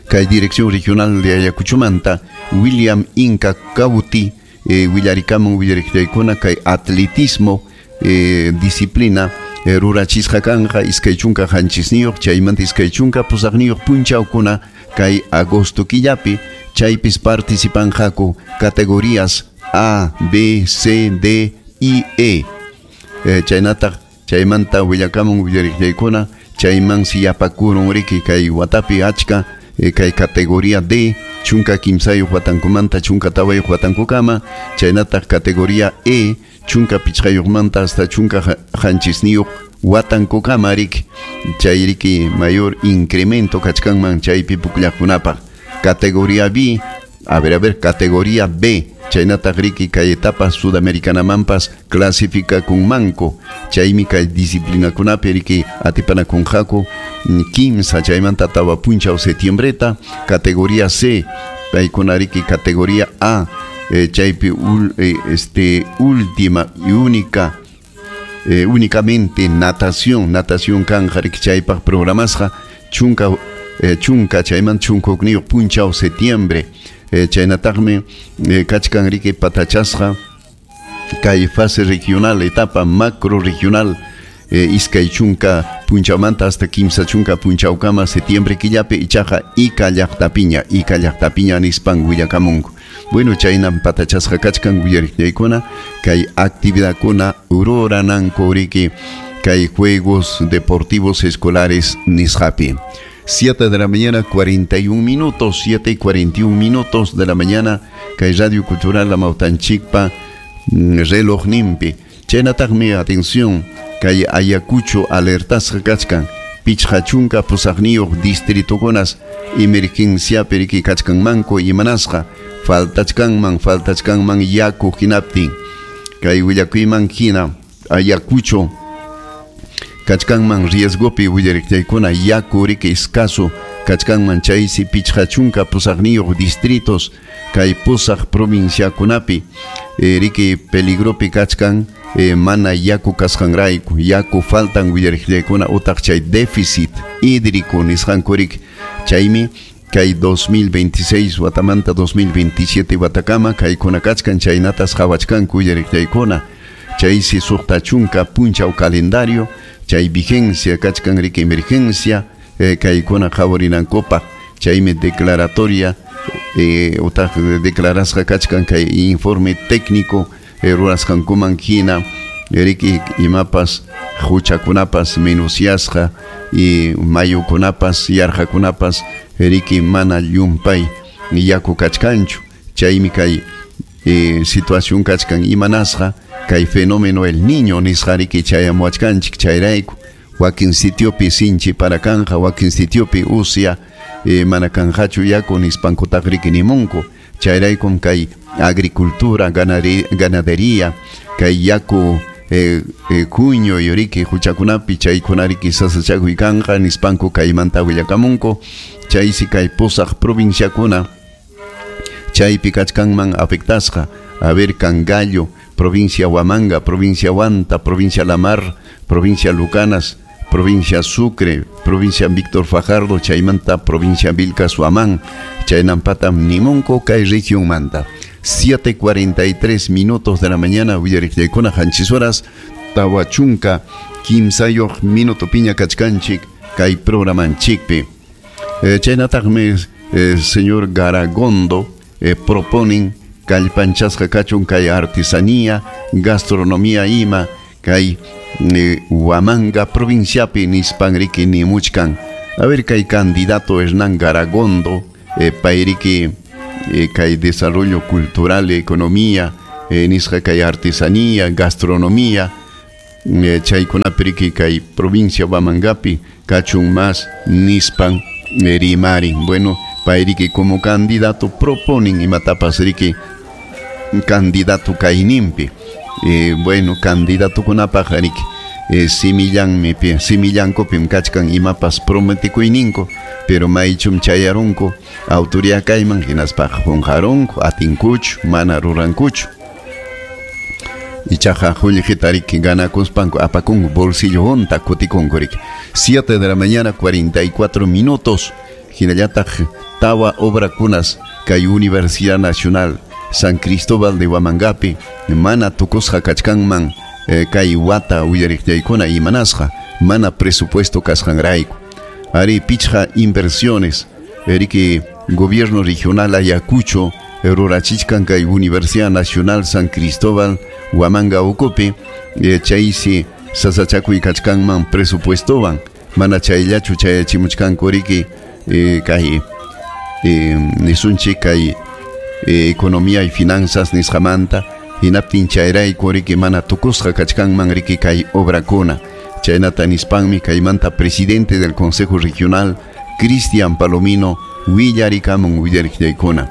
kay Dirección Regional de Ayacuchomanta, William Inca Cauti, eh, willarikamun willariqllaykuna kay atletismo, eh, disciplina, eh, rurachisqa kanja iskay chunka qanchisniyuq, chaymanta iskay chunka pusaqniyuq punchawkuna kay agosto killapi, chaypis participanqaku categorías A, B, C, D y E. Eh, chaynataq chaymanta willakamun willariqllaykuna chayman siyapakurun riki kay watapi achka, eh, kay categoría D chunka kimsayuq watankumanta chunka tawayuq watankukama, chaynataq categoría E chunka pichqayuqmanta hasta chunka qanchisniyuq watankukama riki, chay riki mayor incremento kachkanman chaypi pukllaqkunapaq. Categoría B, a ver, a ver, categoría B, chaynataq riki kay etapa sudamericanamanpas clasificakunmanku, chaymi kay disciplinakunapi riki atipanakunqaku kimsa chaymanta tawa punchaw septiembreta. Categoría C, paykuna riki categoría A, eh, chaypi ul, eh, este, última y única, eh, únicamente natación, natación kanja riki chaypaq programasqa chunka, eh, chunka chayman chunka hukniyuq punchaw septiembre. Eh, chaynataqmi, eh, kachkan riki patachasqa kay fase regional, etapa macro regional, eh, iskay chunka punchawmanta hasta kimsa chunka punchawkama septiembre killapi, ichaqa Ica llaqtapiña, Ica llaqtapiña nispan willakamunku. Bueno, chaynan patachasqa kachkan willariqllaykuna kay actividadkuna rurananku riki kay Juegos Deportivos Escolares nisqapi. siete de la mañana, cuarenta y un minutos, siete y cuarenta y un minutos de la mañana, kay Radio Cultural Amawtanchikpa, reloj nimpi. Chaynataqmi, atención, kay Ayacucho alertasqa kachkan, pichqa chunka pusaqniyuq distritukunas emergenciapi riki kachkanmanku imanasqa, faltachkanman, faltachkanman yaku hinaptin. Kay willakuyman hina, Ayacucho kachkanman riesgopi willariqllaykuna yaku riki escaso kachkanman chaysi pichqa chunka pusaqniyuq distritos kay pusaq provinciakunapi, eh, riki peligropi kachkan, eh, mana yaku kasqanrayku, yaku faltan willariqllaykuna utaq chay déficit hídrico nisqanku riki, chaymi kay dos mil veintiséis watamanta dos mil veintisiete watakama kaykuna kachkan chaynatas qhawachkanku willariqllaykuna, chaysi suqta chunka punchaw calendario chay vigencia kachkan riki emergencia, eh, kaykuna qhawarinankupaq, chaymi declaratoria, eh, utaq declarasqa kachkan kay informe técnico, eh, rurasqankuman hina riki imapas huchakunapas menuciasqa y mayukunapas yarqakunapas riki mana llumpay yaku kachkanchu, chaymi kay, eh, situación kachkan imanasqa kay fenómeno el niño nisqa riki chayamuachkanchik chayrayku wakin sitiopi sinchi para kanja wakin sitiopi usia, eh, mana kanjachu yaku nispankutaq riki nimunku, chayraykum kay agricultura, ganadería, kay yaku, eh, eh, kuño yoriki huchakunapi chaykuna riki sasachakuy kanja nispanku kaymanta willakamunku, chaysi kay pusaq provinciakuna chaypi kachkanman afectasqa, a ver, Cangallo, provincia Huamanga, provincia Huanta, provincia La Mar, provincia Lucanas, provincia Sucre, provincia Víctor Fajardo, chaymanta, provincia Vilcas Huamán, chaynampatam nimunku kay región manta. siete cuarenta y tres minutos de la mañana, willariqllaykuna qanchis horas, tawa chunka kimsayuq minuto piña kachkanchik kay programanchikpi. Eh, chaynataqmi, eh, señor Garagondo, eh, proponen kallpanchasqa kachun kay artesanía, gastronomía ima kay, eh, Huamanga provinciapi nispan riki nimuchkan. A ver, kay candidato Hernán Garagondo, eh, payriki, eh, kay desarrollo cultural, economía, eh, nisqa kay artesanía, gastronomía, eh, chaykunapi riki kay provincia Huamangapi kachun más nispan eh, rimarin. Bueno, payriki como candidato proponen imatapas riki candidato kayninpi. Eh, bueno, candidato kunapaq riki eh, simillanmi simillankupim kachkan imapas prometikuyninko, pero maychum chayarunku autoridad kayman hinaspaqa qunqarunku, atinkuchu, mana rurankuchu. Ichaqa qullqita riki ganakuspanku apakunku bolsillo hunta kutikunku riki. siete de la mañana cuarenta y cuatro minutos. Hinallataq tawa obrakunas kay Universidad Nacional San Cristóbal de Huamangapi mana tukusqa kachkanman eh, kay wata uyariqllaykuna imanasqa mana presupuesto kasqanrayku. Ari pichqa inversiones riki gobierno regional Ayacucho rurachichkan kay Universidad Nacional San Cristóbal Huamanga ukupi eh, chaysi sasachakuy kachkanman presupuestowan mana chayllachu chayachimuchkanku riki eh, kay eh, nisunchik kay eh, economía y finanzas nisqamanta hinaptin chayrayku riki mana tukusqa kachkanman riki kay obrakuna. Chaynata nispanmi kaymanta presidente del Consejo Regional Cristian Palomino willarikamun willariqllaykuna.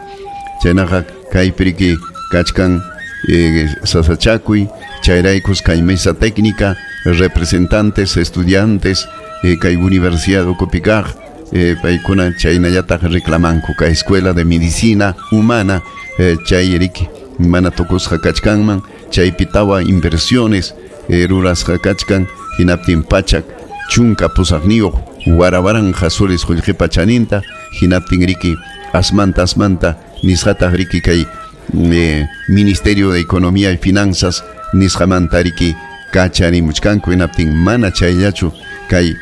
Chaynaqa kaypi riki kachkan eh, sasachakuy chayraykus kay mesa técnica representantes estudiantes eh, kay Universidad ukupi kaq eh, paykuna chaynallataq reclamanku kay Escuela de Medicina Humana eh, chay riki mana tukusqa kachkanman chaypi tawa inversiones eh, rurasqa kachkan hinaptin pachak chunka pusaqniyuq warawaranja soles qullqipa chaninta hinaptin riki asmanta asmanta nisqataq riki kay eh, Ministerio de Economía y Finanzas nisqamanta riki kacharimuchkanku hinaptin mana chayllachu kay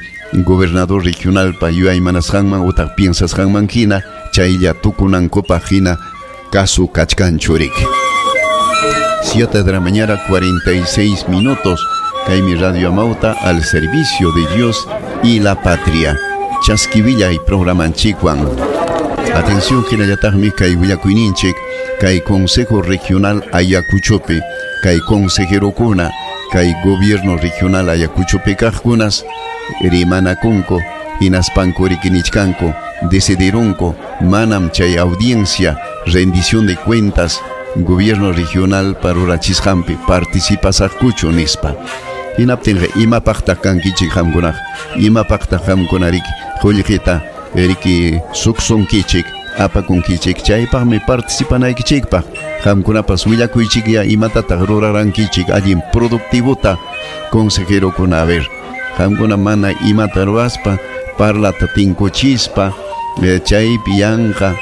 gobernador regionalpa yuyaymanasqanman utaq piensasqanman hina chaylla tukunankupaq hina kasu kachkanchu riki. siete de la mañana cuarenta y seis minutos. Kaymi Radio Amauta al servicio de Dios y la patria. Chaskivilla y programanchikwan. Atención hinallataqmi kay willakuyninchik kay Consejo Regional Ayacuchopi, kay consejerokuna, kay Gobierno Regional Ayacuchopi kaqkunas rimanakunku hinaspanku rikinichkanku decidirunku manam chay audiencia rendición de cuentas Gobierno Regional parurachisqanpi participasaqkuchu nispa. Hinaptinqa imapaqtaq kankichik qamkunaq, imapaqtaq qamkuna riki qullqita riki suksunkichik apakunkichik chaypaqmi participanaykichikpaq qamkunapas willakuychikya imatataq rurarankichik allin productivota consejerokuna. A ver, qamkuna mana imata ruwaspa parlata tinkuchispa eh, chaypi yanqa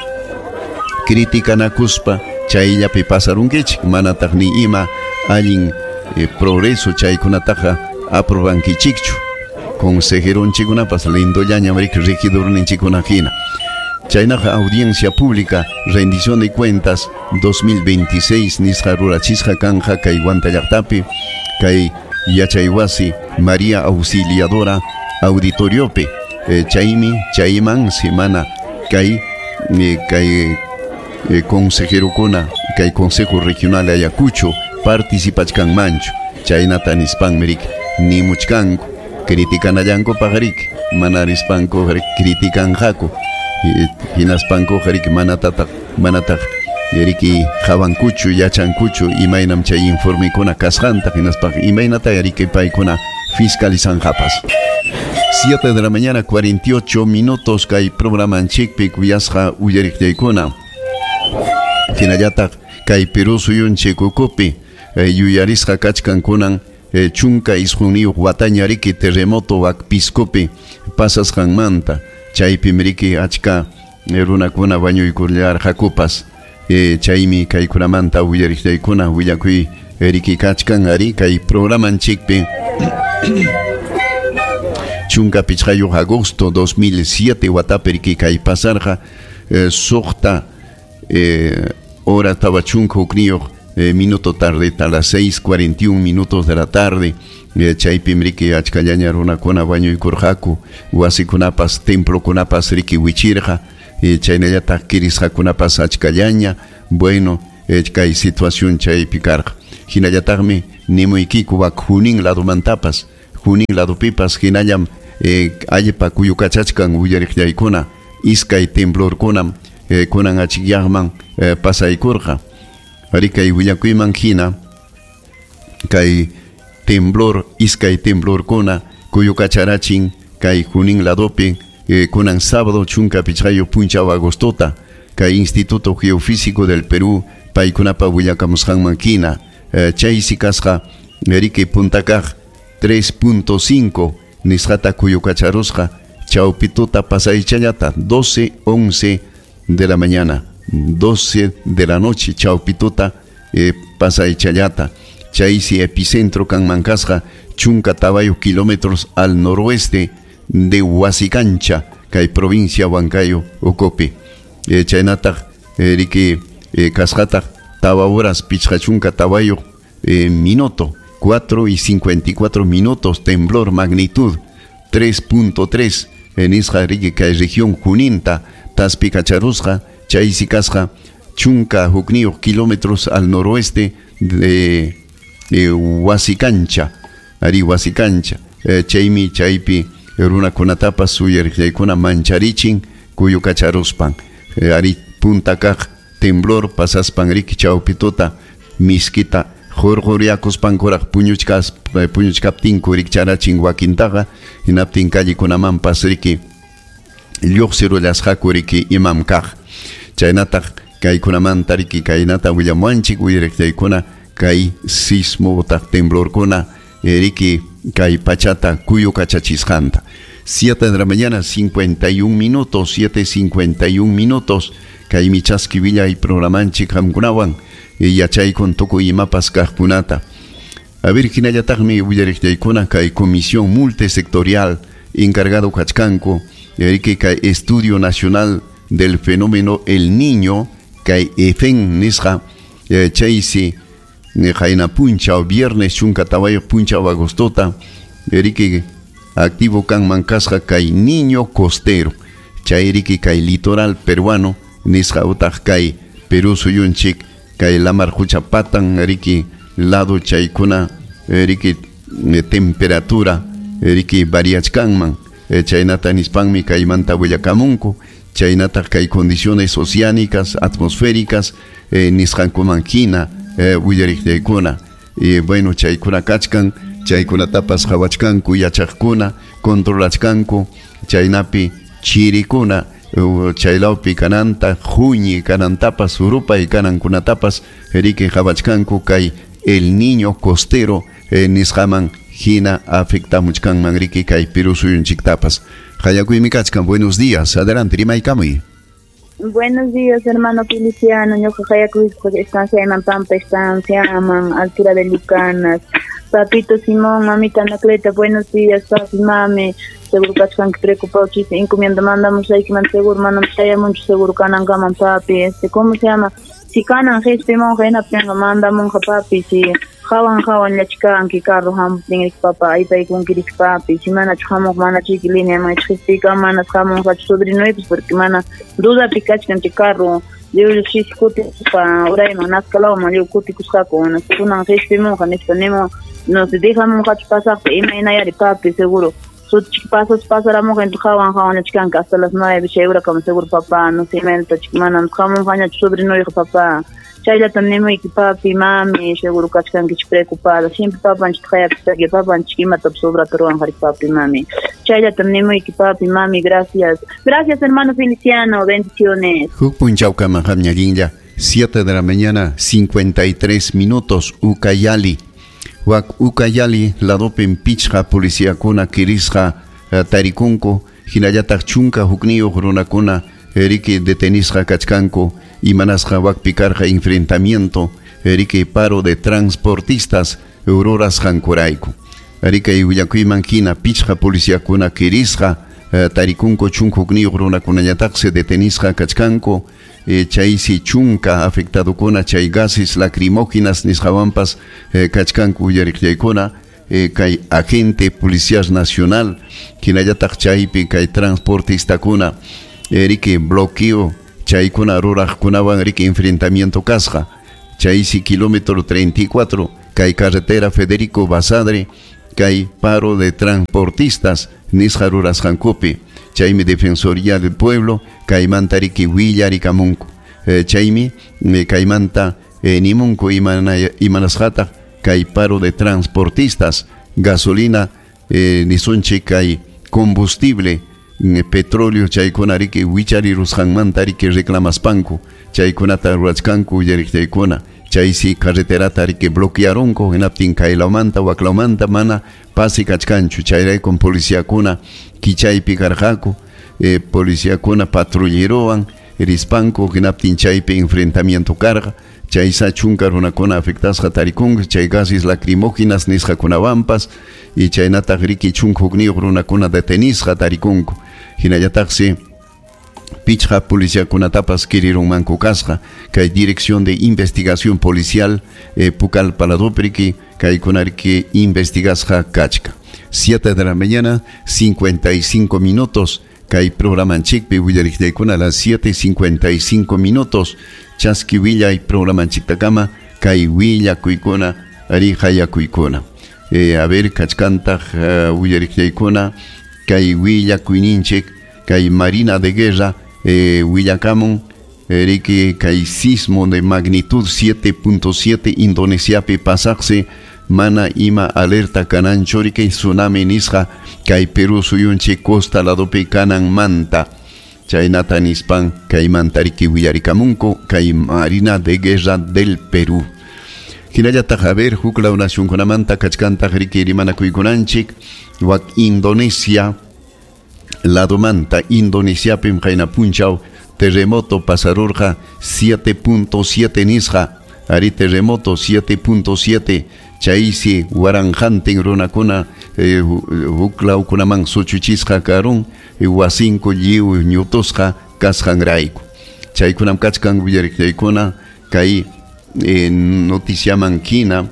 criticanakuspa chayllapi pasarunkichik manataq ni ima allin eh, progreso chaykunataqa aprobankichikchu. Consejeronchikunapas lindollañam riki regidorninchikuna hina. Chaynaqa audiencia pública rendición de cuentas dos mil veintiséis nisqa rurachisqa kanja kay Huanta llaqtapi kay yachaywasi María Auxiliadora auditoriopi eh, chaymi chayman semana kay eh, kay eh, consejerokuna kay Consejo Regional Ayacucho participachkanmanchu chaynata nispanmi riki nimuchkanku criticanallanku riki mana rispanku criticanqaku hinaspanku riki manatataq manataq riki qawankuchu yachankuchu imaynam chay informekuna kasqanta hinaspa imaynata riki paykuna fiscalizanqapas. siete de la mañana cuarenta y ocho minutos kay programanchikpi kuyasqa uyariqllaykuna. Hinallataq kay Perú suyunchik ukupi eh, yuyarisqa kachkankunan eh, chunka isqunniyuq wataña riki terremoto Huacpiscopi pasasqanmanta chaypim riki achka eh, runakuna wañuykullarqakupas eh, chaymi kaykunamanta uyariqllaykuna willakuy riki kachkan ari kay programanchikpi. Chunka pichqayuq agosto dos mil siete watapi riki kay pasarqa eh, suqta eh, hora tawa chunka hukniyuq eh, minuto tarde a las seis cuarenta y un minutos de la tarde eh, chaypim riki achkallaña runakuna wañuykurqaku wasikunapas templokunapas riki wichirqa eh, chaynallataq kirisqakunapas achkallaña. Bueno, eh, kay situación chaypi karqa. Hinallataqmi nimuykiku wak Junín ladomantapas, Junín ladopipas hinallam eh, allpa kuyukachachkan uyariqllaykuna, iskay temblorkunam eh, kunan achikyaqman eh, pasaykurqa. Ari kay willakuyman hina kay temblor, iskay temblorkuna kuyukacharachin kay Junín ladopi eh, kunan sábado chunka pichqayuq punchaw agostota kay Instituto Geofísico del Perú paykunapa willakamusqanman hina eh, chaysi kasqa riki puntakaq tres punto cinco nisqata kuyukacharusqa chawpituta pasaychallata doce once de la mañana, doce de la noche chawpituta eh, pasaychallata. Chaysi epicentro kanman kasqa chunka tawayuq kilómetros al noroeste de Huasicancha kay provincia Huancayo ukupi. Eh, chaynataq eh, riki eh, kasqataq tawa horas pichqa chunka tawayuq eh, minuto, cuatro y cincuenta y cuatro minutos, temblor magnitud tres punto tres en isqa riki kay región Juninta taspikacharusqa. Chaysi kasqa chunka hukniyuq kilómetros al noroeste de, de Huasicancha, ari Huasicancha. Eh, chaymi chaypi runakunatapas uyariqllaykuna mancharichin kuyukacharuspan. Eh, ari puntakaq temblor pasaspan riki chawpituta miskita hurquriakuspankuraq puñuchkas puñuchkaptinku rikcharachin wakintaqa, hinaptin callekunamanpas riki lluqsirullasqaku riki imam kaq. Chaynataq kaykunamanta riki kaynata willamuwanchik uyariqllaykuna kay sismo utaq temblorkuna riki kay pachata kuyukachachisqanta. siete de la mañana, cincuenta y un minutos, siete cincuenta y un minutos, kay michaski villa y programanchik qamkunawan yachaykun tukuy imapas kaqkunata. A ver, hinallataqmi willariqllaykuna kay comisión multisectorial encargado kachkanku riki kay Estudio Nacional del Fenómeno El Niño kay EFEN nisqa chaysi qayna punchaw viernes chunka tawayuq punchaw agostota riki activo kanman kasqa kay Niño Costero chay riki kay litoral peruano nisqa utaq kay Perú suyunchik kay lamar qucha patan riki lado chaykuna riki temperatura riki variachkanman chaynata nispanmi kaymanta willakamunku chaynataq kay condiciones oceánicas atmosféricas eh, nisqankuman hina eh, willariqllaykuna. Eh, bueno, chaykuna kachkan chaykunatapas qhawachkanku yachaqkuna controlachkanku chaynapi chirikuna chaylawpi kananta huñi kanantapas urupay kanankunatapas riki qhawachkanku kay El Niño Costero eh, nisqaman hina afectamuchkanman riki kay Perú suyunchiktapas. Hayakuymi kachkan, buenos días, adelante, rimaykamuy. Buenos días, hermano Feliciano. Ñuqa hayakuyqa estancia Pampa, estancia Aman, altura de Lucanas. Papito Simón, mamita Anacleta, buenos días, papi, mami. Seguro kachkan que preocupado chiste, encomienda mandamos ahí que man seguro, mandamos allá mucho seguro kanan papi, este, ¿cómo se llama? Si kanan este monja en aprenga manda monja papi, si hawan hawan la chica anki carro ham tin papá ahí pay con kirik papi, si mana chamo mana chiquilina mana chiquistica mana chamo sobrino pues porque mana duda pikachkan ti carro yo si kuti pa urayman naskalawman yo kuti kusqaku kunan qhispimunqa nispa nimo no se dejamunqa pasaqpa imaynayari papi seguro sutchik pasas pasaramunqa entonces hawan hawan chikanka hasta las nueve chay urakama seguro papá no sé imaynata manam hamunqañachu sobrinoyqa papá chayllatam nimuyki papi mami seguro kachkankichik preocupada siempre papanchik hayapistaki papanchik imatapas obrata ruwanqari papi mami chayllatam nimuyki papi mami gracias gracias hermano Feliciano, bendiciones. Huk punchawkama qamñallinlla siete de la mañana cincuenta y tres minutos Ucayali. Wak Ucayali ladopin pichqa policíakuna kirisqa tarikunku hinallataq chunka hukniyuq runakuna riki detenisqa kachkanku imanasqa wakpi karqa enfrentamiento riki paro de transportistas rurasqankurayku. Riki willakuyman hina pichqa policíakuna kirisqa tarikunku chunka hukniyuq runakunañataqsi detenisqa kachkanku chaysi chunka afectadokuna chay gases lacrimógenas nisqawanpas kachkanku uyariqllaykuna kay agente policial nacional hinallataq chaypi kay transportistakuna Riki bloqueo chaykuna ruraqkunawan riki enfrentamiento kasqa. Chaysi kilómetro treinta y cuatro kay carretera Federico Basadre kay paro de transportistas nisqa rurasqankupi. Chaymi Defensoría del Pueblo kaymanta riki willarikamunku. Eh, chaymi kaymanta eh, nimunku imana, imanasqataq kay paro de transportistas gasolina eh, nisunchik kay combustible petróleo chaykuna riki wicharirusqanmanta riki reclamaspanku chaykunata rurachkanku willariqchaykuna chaysi carreterata riki bloquearunku hinaptin kaylawmanta waklawmanta mana pasi kachkanchu chayraykum policiakuna kichaypi karqaku eh, policiakuna patrullerowan rispanku hinaptin chaypi enfrentamiento karqa chaysa chunka runakuna afectasqa tarikunku chay gases lacrimógenas nisqakunawanpas y chaynataq riki chunka hukniyuq runakuna detenisqa tarikunku hinallataqsi pichqa policiakunatapas kirirunmanku kasqa kay Dirección de Investigación Policial eh, Pucallpa ladopi riki kaykuna riki investigasqa kachka. siete de la mañana cincuenta y cinco minutos kay programanchikpi willariqllaykuna a las siete cincuenta y cinco minutos chaski willay programanchiktakama kay willakuykuna ari hayakuykuna. Eh, a ver kachkantaq uh, willariqllaykuna kay willakuyninchik kay Marina de Guerra eh, willakamun eh, riki kay sismo de magnitud siete punto siete Indonesiapi pasaqsi mana ima alerta kananchu riki tsunami nisqa kay Perú suyunchik costa ladopi kananmanta chaynata nispan kaymanta riki willarikamunku kay Marina de Guerra del Perú. Hinallataq a ver huklaw nacionkunamanta kachkantaq riki rimanakuykunanchik wak Indonesia ladomanta Indonesiapim qayna punchaw terremoto pasarurqa siete punto siete nisqa ari terremoto siete punto siete chaysi waranqantin runakuna eh, huklawkunaman suchuchisqa karun wasinku lliw ñutusqa kasqanrayku chaykunam kachkan willariqllaykuna kay eh, noticiaman hina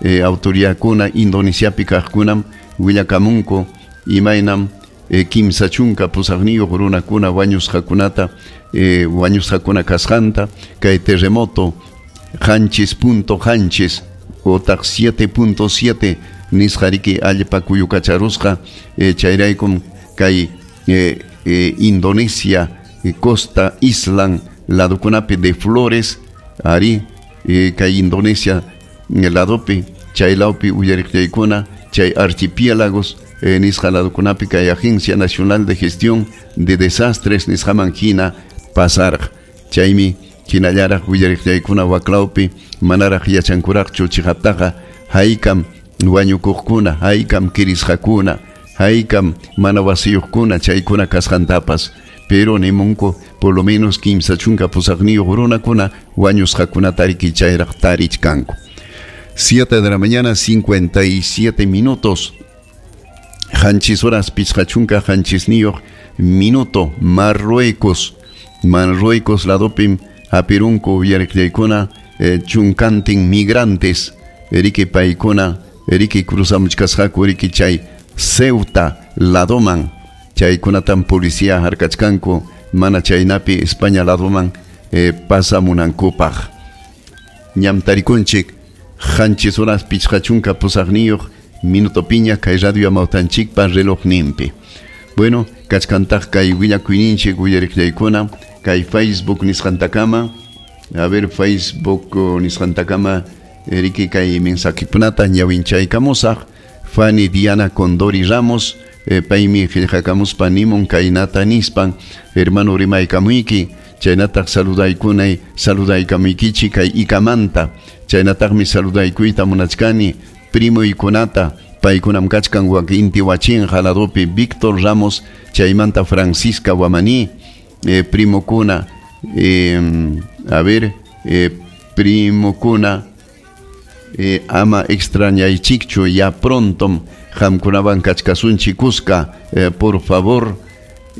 eh, autoridadkuna Indonesiapi kaqkunam willakamunku imaynam eh, kimsa chunka pusaqniyuq runakuna wañusqakunata eh, wañusqakuna kasqanta kay terremoto qanchis punto qanchis otaq siete punto siete nisqa riki allpa kuyukacharusqa eh, chayraykum kay eh, eh, Indonesia eh, costa Island ladokunapi de Flores ari eh, kay Indonesia ladopi chaylawpi uyariqllaykuna chay archipiélagos eh, nisqa ladokunapi kay Agencia Nacional de Gestión de Desastres nisqaman hina pasarqa chaymi hinallaraq willariqllaykuna waklawpi manaraq yachankuraqchu chiqaptaqa haykam wañukuqkuna haykam kirisqakuna haykam mana wasiyuqkuna chaykuna kasqantapas pero nimunku por lo menos kimsa chunka pusaqniyuq runakuna wañusqakunata riki chayraq tarichkanku. siete de la mañana cincuenta y siete minutos qanchis horas pichqa chunka qanchisniyuq minuto Marruecos Marruecos ladopim hapirunku willariqllaykuna eh, chunkantin migrantes riki paykuna riki cruzamuchkasqaku riki chay Ceuta ladoman chaykunatam policía harkachkanku mana chaynapi España ladoman eh, pasamunankupaq ñam tarikunchik qanchis horas pichqa chunka pusaqniyuq minuto piña kay radio amawtanchikpa relojninpi. Bueno, kachkantaq kay willakuyninchik willariqllaykuna kay Facebook nisqantakama a ver Facebook nisqantakama riki kay mensajekunata ñawinchaykamusaq Fanny Diana Condori Ramos eh, paymi qillqakamuspa nimun kaynata nispan hermano rimaykamuyki chaynataq saludaykunay saludaykamuykichik kay ikamanta chaynataqmi saludaykuyta munachkani primuykunata paykunam kachkan wak inti wachinqa ladopi Víctor Ramos chaymanta Francisca Guamaní eh, primokuna eh, a ver eh, primokuna eh, ama extrañaychikchu ya pronto qamkunawan kachkasunchik kuska eh, por favor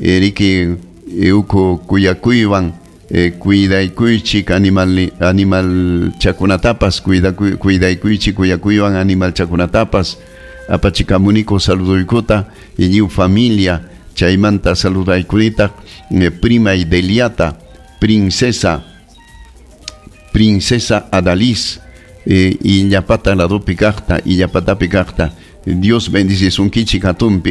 eh, riki uku kuyakuywan eh, cuidaykuychik animal animal chakunatapas cuidaykuychik kuyakuywan animal chakunatapas apachikamuniko saluduykuta lliw familia Chaymanta saludaykunitaq eh, prima Deliata, princesa princesa Adalis, eh, Illapata ladopi kaqta, Illapatapi kaqta. Dios bendicisunkichik hatunpi.